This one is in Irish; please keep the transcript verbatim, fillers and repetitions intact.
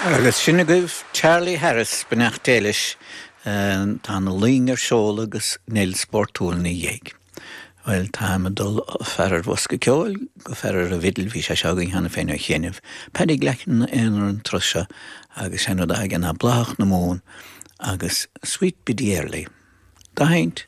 Agus sin agaibh Charlie Harris beannacht Dé leis tá na loing ar seol agus Nell spórtúil ina dhiaidh. Well tá ag dul fear ar bhosca ceoil go fear ar an bhfidil bhí sé seo againn cheana féin ar chianaibh. Paddy Glackin aonar an turas seo agus sé an rud aige ná Bláthach na Mumhan agus Sweet Biddy Early. Dahaint